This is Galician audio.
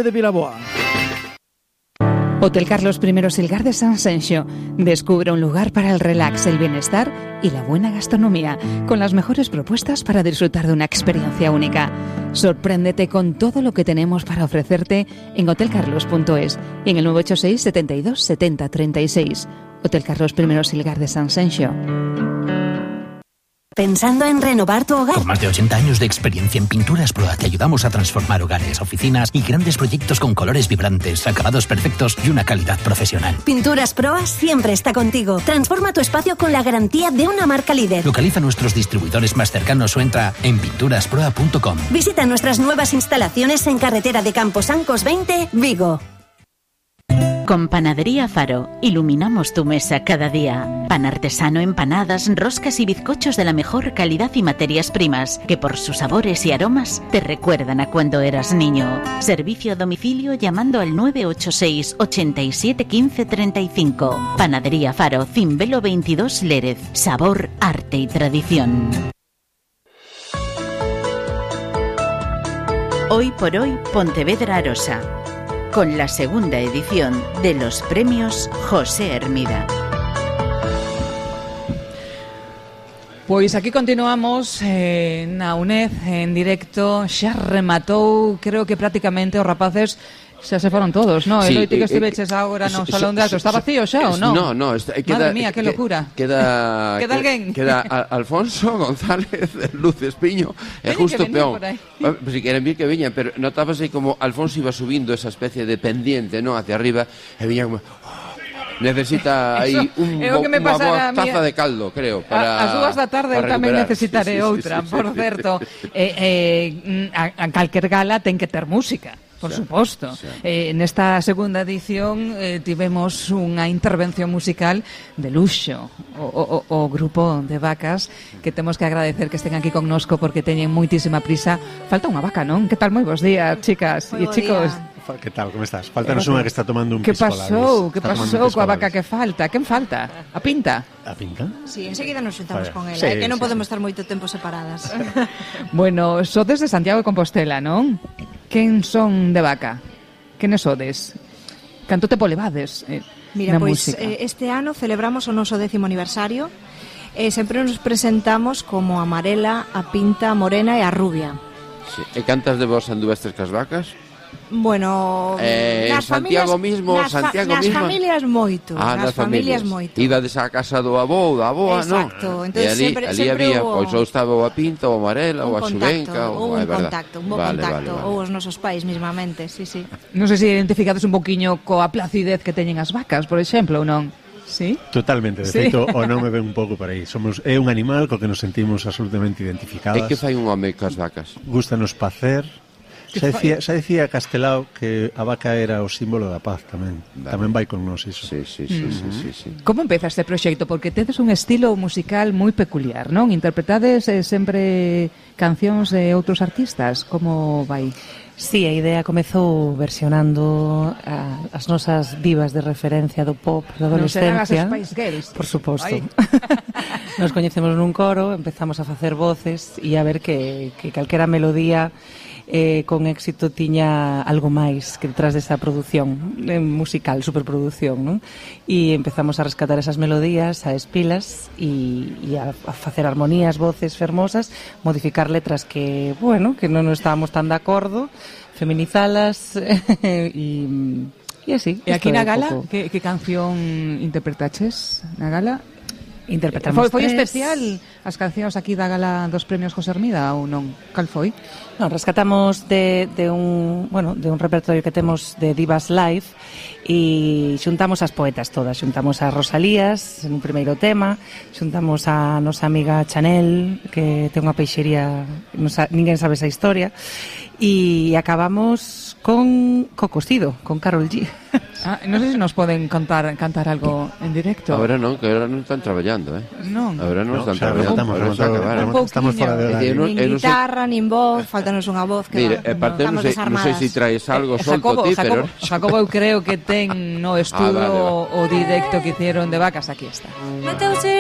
de Vilaboa. Hotel Carlos I Silgar de San Senxo. Descubre un lugar para el relax, el bienestar y la buena gastronomía, con las mejores propuestas para disfrutar de una experiencia única. Sorpréndete con todo lo que tenemos para ofrecerte en hotelcarlos.es y en el 986 72 70 36. Hotel Carlos I Silgar de San Senxo. ¿Pensando en renovar tu hogar? Con más de 80 años de experiencia en Pinturas Proa te ayudamos a transformar hogares, oficinas y grandes proyectos con colores vibrantes, acabados perfectos y una calidad profesional. Pinturas Proa siempre está contigo. Transforma tu espacio con la garantía de una marca líder. Localiza nuestros distribuidores más cercanos o entra en pinturasproa.com. Visita nuestras nuevas instalaciones en Carretera de Camposancos 20, Vigo. Con Panadería Faro, iluminamos tu mesa cada día. Pan artesano, empanadas, roscas y bizcochos de la mejor calidad y materias primas, que por sus sabores y aromas te recuerdan a cuando eras niño. Servicio a domicilio llamando al 986 87 15 35. Panadería Faro, Cimbelo 22 Lérez. Sabor, arte y tradición. Hoy por hoy, Pontevedra Arosa, con la segunda edición de los premios José Hermida. Pois aquí continuamos na UNED en directo. Xa rematou, creo que prácticamente os rapaces xa se foron todos, non? Sí, Eloite que estiveches agora no Salón de Alto, está vacío xa ou non? No, Madre mía, que locura. Queda alguén? Queda Alfonso González, Luz Espiño e justo Peón. Si queren vir que viñan, pero notábase como Alfonso iba subindo esa especie de pendiente, ¿no? Hacia arriba, e viña como... necesita aí unha taza de caldo, creo, para as 2 da tarde eu tamén necesitaré outra, por certo. A calquer gala ten que ter música, por suposto. Nesta segunda edición tivemos unha intervención musical de luxo, o grupo de vacas, que temos que agradecer que estén aquí connosco porque teñen moitísima prisa. Falta unha vaca, non? Que tal? Moi bons días, chicas e chicos. Que tal, como estás? Faltanos unha que está tomando un piscolabis. Que pasou coa vaca que falta? Quen falta? A Pinta? A Pinta? Sí, enseguida nos xuntamos con ela, sí, que non podemos estar moito tempo separadas. Bueno, sodes de Santiago de Compostela, non? Quen son de vaca? Quenes sodes? Canto tempo levades Mira, pois este ano celebramos o noso 10º aniversario e sempre nos presentamos como a amarela, a pinta, a morena e a rubia. Sí. E cantas de vos anduvestes cas vacas? Bueno, nas Santiago familias, mismo, nas familias moito, nas familias moito. Ibades á casa do avó ou da avoa, non? Exacto, E ali había, pois ou estaba o a pinta, ou a amarela, ou a xuvenca, ou un contacto, ou os nosos pais mismamente, sí. Non sei se identificades un poquiño coa placidez que teñen as vacas, por exemplo, ou non? Sí? Totalmente, de feito, o nome ven un pouco por aí. É un animal co que nos sentimos absolutamente identificadas. E que fai un home cas vacas? Gústanos pacer. Xa dicía Castelao que a vaca era o símbolo da paz tamén. Vale. Tamén vai con nós iso. Sí. Como empeza este proxecto? Porque tedes un estilo musical moi peculiar, non? Interpretades sempre cancións de outros artistas. Como vai? Sí, a idea comezou versionando as nosas divas de referencia do pop da adolescencia. Non serán as Spice Girls? Por suposto. Nos coñecemos nun coro, empezamos a facer voces e a ver que calquera melodía con éxito tiña algo máis que detrás desa produción musical, superproducción, non? E empezamos a rescatar esas melodías, a espilas e a facer armonías, voces fermosas, modificar letras que, bueno, que non estábamos tan de acordo, feminizalas e así. E aquí na gala, que canción interpretaches na gala? Interpretamos foi especial as cancións aquí da gala dos premios José Hermida ou non? Cal foi? Non, rescatamos de un repertorio que temos de divas live e xuntamos as poetas todas, xuntamos a Rosalías en un primeiro tema, xuntamos a nosa amiga Chanel que ten unha peixería, ninguén sabe esa historia, e acabamos con Cocido, con Karol G. Non sei se nos poden cantar algo en directo. Ahora non, que ahora non están traballando, Non. Ahora non están traballando. Estamos fora de horario. Nin guitarra, nin voz, faltanos unha voz que mire, parte non sei se traes algo solto ti, pero Jacobo eu creo que ten no estudo o directo que hicieron de vacas, aquí está.